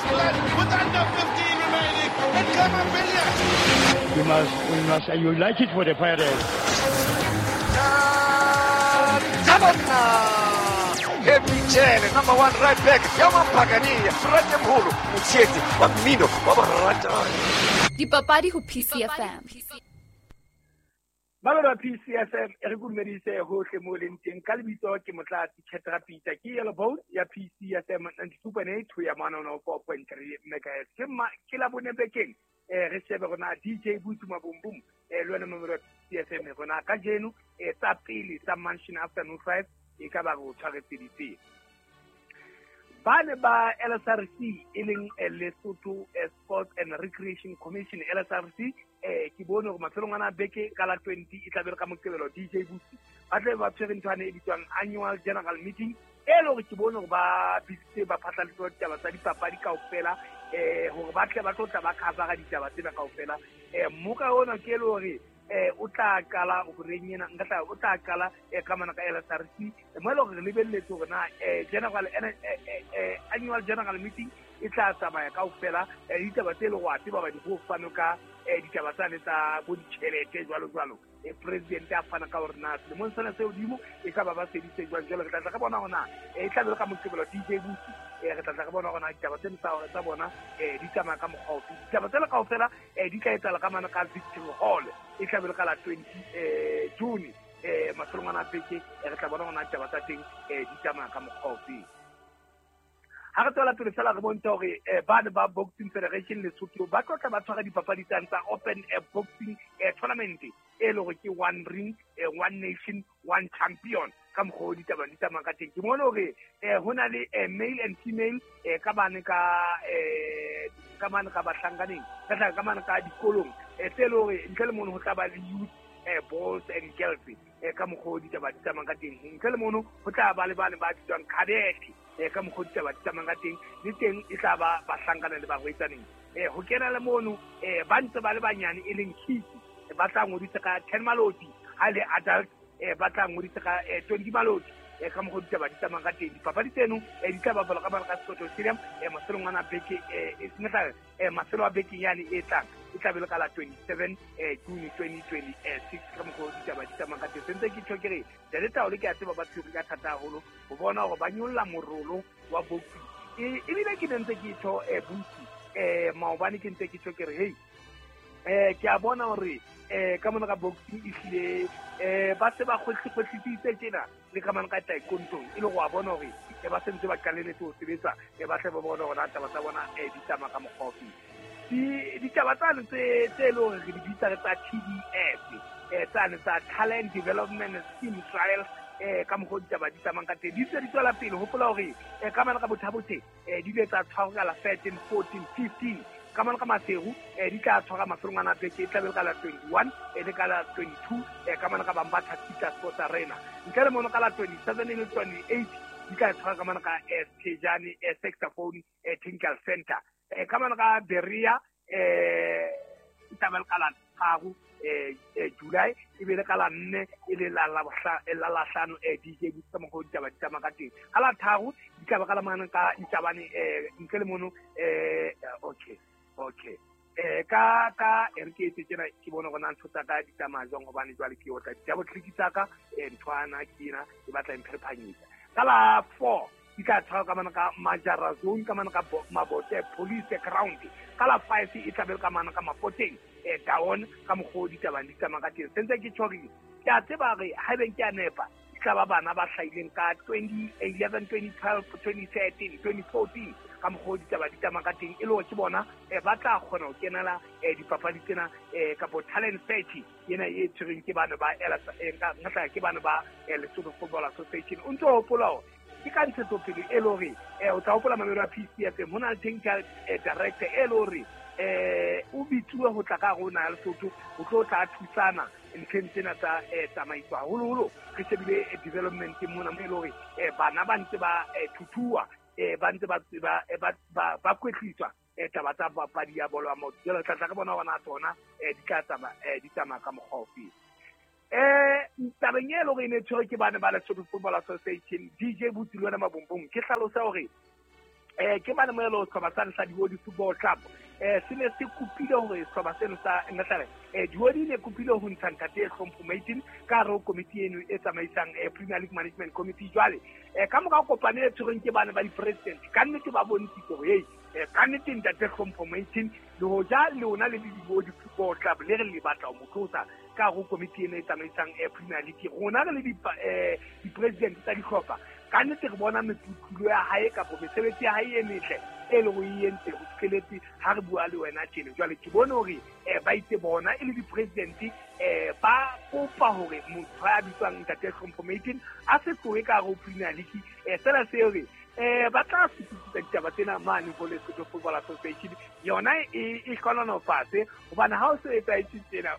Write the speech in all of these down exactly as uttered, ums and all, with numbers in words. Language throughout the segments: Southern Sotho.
England with under fifteen remaining. And Khama Billiat. We must, we must, you like it for the Pirates. Michele, number one right back, Yama Pagani, Frate Mholo, Motsheti, wa mmino, wa borata. Dipapadi ho P C F M. Malona P C F M e re dumedise hohle mo leng teng ka lebitso ke Motlatsi Khetra Peter ke yellow bone ya P C F M ninety-two point eight ho ya one oh four point three megahertz. Ke ma ke la bone bekeng eh re shebe rona D J Butsi Mabumbum eh le wena momero P C F M rona ka jeno eh tsa pele tsa Mansion Afternoon five e ka ba go tshwaretse ditse. Ba ne ba L S R C e leng Lesotho Sports and Recreation Commission L S R C eh ke bone hore mafelong ana beke ka la twenty e tla be ka Moqebelo D J Butsi ba tle ba tshwere nthwane e bitswang annual general meeting e le hore ke bone hore ba bitsitse ba phatlalatse ditaba tsa dipapadi kaofela eh hore ba tle ba tlo tla ba cover ditaba tsena kaofela eh moka ona ke le hore eh o tla qala o reng ena nka tla o tla qala e ka mana ka L S R C mo le hore re lebelletse hore na eh general eh annual general meeting e tla tsamaya kaofela ditaba tse le go a tseba ba di go fano ka ditaba tsa le tsa bo ditjhelete jwalo jwalo e president a fana ka hore na selemong sena se hodimo e ka ba ba seditse jwang jwalo re tla tla ka bona hore na e tla be ka Moqebelo D J Butsi e re tla tla ka bona hore na ditaba tsena tsa hore tsa bona e di tsamaya ka mokgwa ofe ditaba tsena kaofela e di tla etsahala ka mana ka Victory Hall e tla be ka la twenty eh June eh mafelong ana beke re tla bona hore na ditaba tsa teng e di tsamaya ka mokgwa ofe. Ha re tswela pele fela re bontsha hore ba ne ba Boxing Federation Lesotho ba tlo tla ba tshwara dipapadi tsa tsa Open Boxing Tournament e le hore ke one ring, one nation, one champion ka mokgwa o ditaba di tsamaya ka teng. Ke mone hore ho na le male and female ka bane ka ka mane ka bahlankaneng ka tla ka mane ka dikolong tse le hore ntle le mono ho tla ba le youth boys and girls ka mokgwa o ditaba di tsamaya ka teng. Ntle le mono ho tla ba le bane ba bitswang cadet ka mokgwa o ditaba di tsamayang ka teng le teng e tla ba bahlankana le barwetsaneng eh ho kena le mono eh ba ntse ba le banyane e leng kids ba tla ngodisa ka ten maloti ha le adult eh ba tla ngodisa ka twenty maloti eh ka mokgwa o ditaba di tsamayang ka teng. Dipapadi tseno eh di tla bapalwa ka bana ka Soto Stadium eh mafelong ana beke eh e eh mafelo a beke yane e tlang e tla be le ka la twenty-seven eh June twenty twenty-six ka mokgwa o ditaba di tsamayang ka teng. Sentse ke tjho ke re Delta o le ke a tseba ba tshwere ka thata haholo ho bona hore ba nyolla morolo wa boxing ebile ke ne ntse ke tjho eh Butsi eh maobane ke ntse ke tjho ke re hey eh ke a bona hore eh ka mona ka boxing e hlile eh ba se ba kgwehlisitse tjena le ka mona ka taekwondo e le go a bona hore e ba sentse ba qaleletse ho sebetsa e ba tle ba bona hore na taba tsa bona eh di tsamaya ka mokgwa ofe. Di ditaba tsane tse tse le hore re di bitsa re tsa T D S eh tsane tsa Talent Development Scheme Trials eh ka mokgwa ditaba di tsamayang ka teng di ntse di tswela pele. Hopola hore eh ka mona ka Botha-Bothe eh di ile tsa tshwarwa ka la thirteen fourteen fifteen ka mona ka Maseru eh di tla tshwara mafelong ana beke e tla be ka la twenty-one e le ka la twenty-two eh ka mona ka Bambatha Peter Sports Arena ntle le mono ka la twenty-seven le twenty-eight di tla tshwara ka mona ka Tejane Saxophone Technical Center eh ka mona ka Berea eh e tla be ka la tharo eh July e be le ka la nne e le la la la la hlano eh D J Butsi ka mokgwa o ditaba di tsamaya ka teng. Ka la tharo di tla ba ka la mane ka Ntabane eh ntle le mono eh okay okay eh ka ka e re ke etse tjena ke bone hore na ntho tsa ka di tsamaya jwang hobane jwale ke otla ditaba click tsa ka eh nthwana ke ena e batla e mpherephanyetsa. Ka la four di tla tshwara ka mana ka Majara Zone ka mana ka Mabote Police Ground. Ka la five e tla be ka mana ka Mapoteng eh down ka mokgwa o ditaba di tsamaya ka teng. Sentse ke tjho ke a tseba re haebeng ke a nepa e tla ba bana ba hlahileng ka twenty eleven twenty twelve twenty thirteen twenty fourteen ka mokgwa o ditaba di tsamaya ka teng e le hore ke bona eh ba tla kgona ho kenela eh dipapadi tsena eh kapo talent search ena e tshwereng ke bana ba nka ke bana ba Lesotho Football Association. O ntso hopola hore ke ka ntshetsopele e le hore eh o tla hopola mamelo ya P C F M ho na le technical director e le hore eh o bitsuwe ho tla ka rona ya Lesotho ho tlo tla thusana ntlheng tsena tsa tsamaiso haholoholo re shebile development mona mo e le hore bana ba ntse ba thuthuwa ba ntse ba ba ba kwetliswa taba tsa papadi ya bolo ya maoto. Jwale tla tla re bona hore na tsona di tla tsamaya di tsamaya ka mokgwa ofe. Eh tabeng e le hore e ne tshwerwe ke bana ba Lesotho Football Association D J Butsi le wena Mabombong ke hlalosa hore Eh ke bana moelo sehlopha sa sa Diodi Football Club eh se ne se kopile hore sehlopha seno sa Ngatare eh Diodi ne kopile ho ntsha ntate Hlompho Maitin ka hare ho komiti eno e tsamaisang Premier League Management Committee. Jwale eh ka mora kopano e tshwerweng ke bana ba di-president ka nnete ba bontshitse hore hey eh ka nnete ntate Hlompho Maitin le hoja le ona le Diodi Football Club le re le batla ho mo tlosa ka hare ho komiti eno e tsamaisang Premier League. Rona re le di-president tsa dihlopha ka nnete re bona meputlulo ya hae kapa mesebetsi ya hae e metle e leng hore e entse ho fihleletse ha re bua le wena tjena. Jwale ke bone hore eh ba itse bona e le di-president eh ba kopa hore motho ya bitswang ntate Hlompho Maitin a se tlohe ka hare ho Premier League. Eh sena se hore eh ba tla fetisa ditaba tsena mane ho Lesotho Football Association yona e e hlononofatse hobane ha o se etsahetse tsena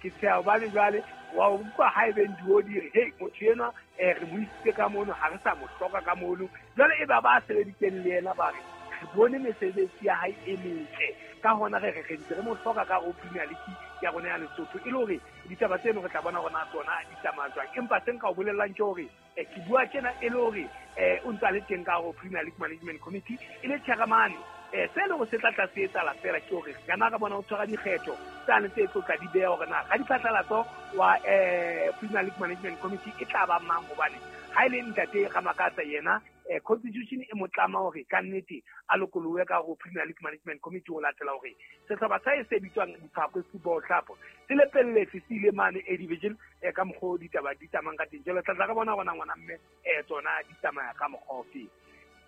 ke tsheha hobane jwale wa utlwa ha ebe Diodi re hey motho enwa eh re mo isitse ka mono ha re sa mo hloka ka mono. Jwale e ba ba sebeditseng le yena ba re re bone mesebetsi ya hae e metle ka hona re re re ntse re mo hloka ka ho Premier League ya rona ya Lesotho e le hore ditaba tseno re tla bona rona tsona di tsamaya jwang. Empa se nka o bolellang ke hore ke bua tjena e le hore eh o ntse a le teng ka ho Premier League Management Committee e le chairman. Eh se le go se tla tla se etsahala fela ke hore kana ka bona o tshwara dikgetho tsane tse tlo tla di beha hore na ga diphatlalatso wa eh Premier League Management Committee e tla ba mang hobane ha ile ntate Ramakatsa yena eh constitution e motlama hore ka nnete a lokolohe ka ho Premier League Management Committee ho latela hore sehlopha sa e se bitswang Diphakwe Football Club se lepelletse se ile mane A division eh ka mokgwa ditaba di tsamayang ka teng. Jwale tla tla re bona bona ngwana mme eh tsona di tsamaya ka mokgwa ofe.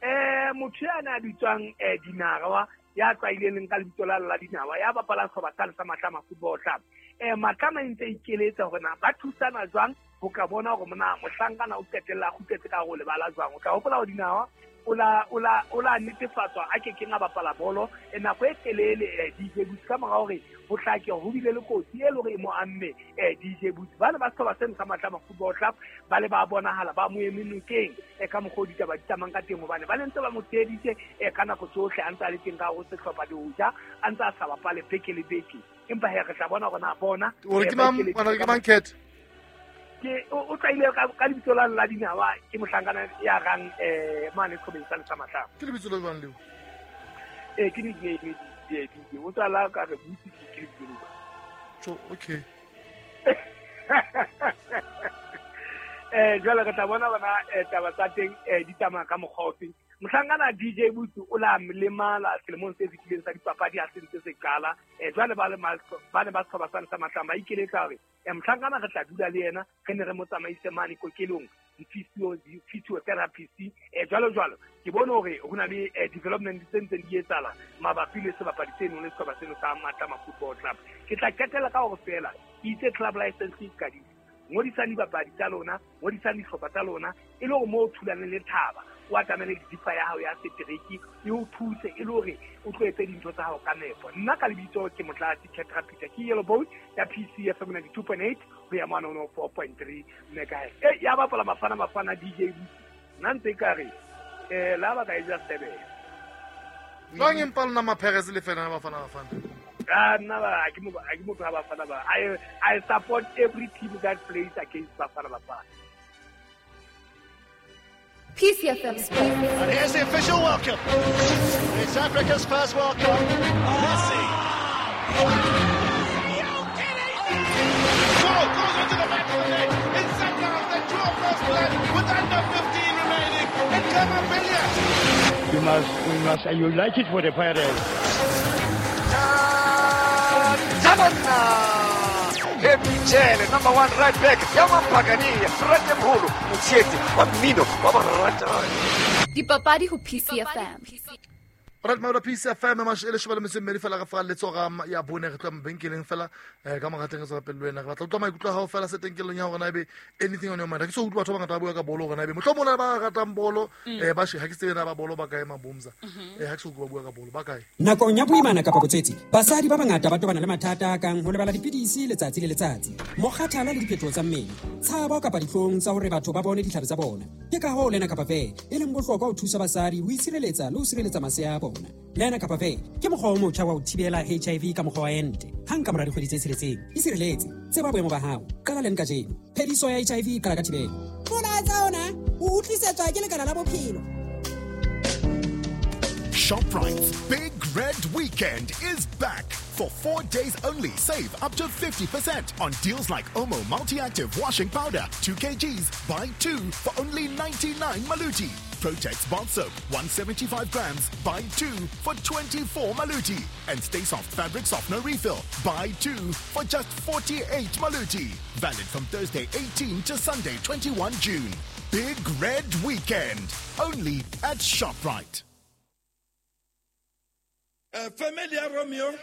Eh motho ya na bitswang eh Dinawa ya tlwaileng ka lebitso la la Dinawa ya bapalang sehlopha sa sa Matlama Football Club eh Matlama e ntse ikeletsa hore na ba thusana jwang ho ka bona hore mona mohlankana o qetella kgutletse ka ho lebala jwang. O tla hopola hore Dinawa o la o la o la netefatswa a ke keng a bapala bolo e nako e telele D J Boots ka mora hore ho hlake ho bile le kotsi e le hore e mo amme eh D J Boots. Ba ne ba sehlopha seno sa Matlama Football Club ba le ba bonahala ba mo eme nokeng e ka mokgwa ditaba di tsamayang ka teng hobane ba ne ntse ba mo tsheheditse e ka nako tsohle a ntse a le teng ka ho sehlopha le hoja a ntse a sa bapale beke le beke. Empa he re tla bona hore na bona hore ke mang ke mang Cat ke o tlaile ka lebitso la la Dinawa ke mohlankana ya rang eh mane sehlopha sa sa Matlama. Ke lebitso le jwang leo? Eh ke nickname di di o tsala ka re butsi ke lebitso leo. Tjo okay. Eh jwale re tla bona bona taba tsa teng di tsamaya ka mokgwa ofe. Mohlankana D J Boots o la lemala selemong se fetileng sa dipapadi ha se ntse se qala. Eh jwale ba le ba ne ba sehlopha sa Matlama ba ikeletsa hore eh mohlankana re tla dula le yena re ne re mo tsamaise mane kokelong di-physio di-physiotherapist eh jwalo jwalo. Ke bone hore ho na le development tse ntseng di etsahala mabapi le sebapadi seno le sehlopha seno sa Matlama Football Club. Ke tla qetela ka hore fela ke itse club license e qadile. Ngodisang dibapadi tsa lona, ngodisang dihlopha tsa lona e le hore moo o thulaneng le thaba o atamele dipa ya hao ya setereki e o thuse e le hore o tlo etse dintho tsa hao ka nepo. Nna ka lebitso ke Motlatsi Ketra Peter ke Yellow Boat ya P C F M ninety-two point eight ho ya mane one oh four point three megahertz. Eh ya bapala Bafana Bafana D J Boots nna ntse ka re eh la ba ka e ja seven. Jwang empa lona Mapheres le fela Bafana Bafana? Ah nna ba ke mo ke motho wa Bafana ba. I I support every team that plays against Bafana Bafana. P C F M Sports. And here's the official welcome. It's Africa's first World Cup. Messi. Goal goes into the back of the net. It's Sundowns that draw first blood with under fifteen remaining. And Clement. You must, we must, and you like it for the Pirates. Michele, number one right back. Yaman Pagani, Fred Mhulu, Mutseti, wa mmino wa borata. Dipapadi ho P C F M. Right maola P C F M mashele shobale metso mmedi fela re fa letsoga ya bone re tla mabenkeleng fela eh ka mogateng re tswa pele wena re batla utlwa maikutlo a hao fela se tenkelong ya hore na ebe anything on your mind. Ke so utlwa batho ba ngata ba bua ka bolo hore na ebe mohlomong ba ratang bolo eh ba she ha ke tsebe na ba bolo ba kae mabomza eh ha ke so utlwa ba bua ka bolo ba kae. Nakong ya boimana kapa botswetsi basadi ba bangata ba tobana le mathata a kang ho lebala dipidisi letsatsi le letsatsi, mokgathala le diphetoho tsa mmele, tshabo kapa dihlong tsa hore batho ba bone ditlhare tsa bona. Ke ka hoo lena kapa ve e leng bohlokwa ho thusa basadi ho itshireletsa le ho sireletsa masea a bona. Lena kapa ve ke mokgwa o motjha wa ho thibela H I V ka mokgwa wa ente. Hang ka mora dikgwedi tse tsheletseng, isireletse, tseba boemo ba hao, qala leng kajeno. Phediso ya H I V e qala ka thibelo. Molaetsa ona o utlwisetswa ke Lekala la Bophelo. ShopRite's Big Red Weekend is back. For four days only, save up to fifty percent on deals like Omo Multi-Active Washing Powder, two kilograms, buy two for only ninety-nine Maluti. Protex Bath Soap, one seventy-five grams, buy two for twenty-four Maluti. And Stay Soft Fabric Softener Refill, buy two for just forty-eight Maluti. Valid from Thursday eighteen to Sunday twenty-one June. Big Red Weekend, only at ShopRite. Uh, Familia Romeo,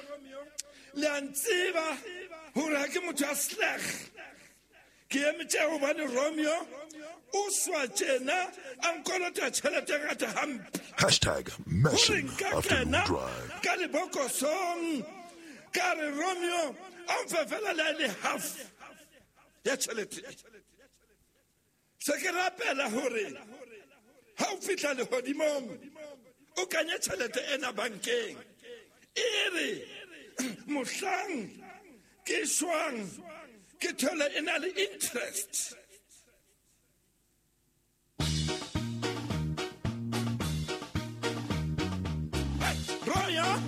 le a ntseba hore ha ke motho a sleg. Ke emetse hobane Romeo o swa tjena a nkolota tjhelete e ngata hampe. Hashtag Mission Hore nka Afternoon kena Drive. Ka lebokosong, ka re Romeo a mfe fela le a le half ya tjhelete. Se ke rapela hore ha o fihla lehodimong o kanye tjhelete ena bankeng. E re mohlang ke shwang ke thole e na le interest.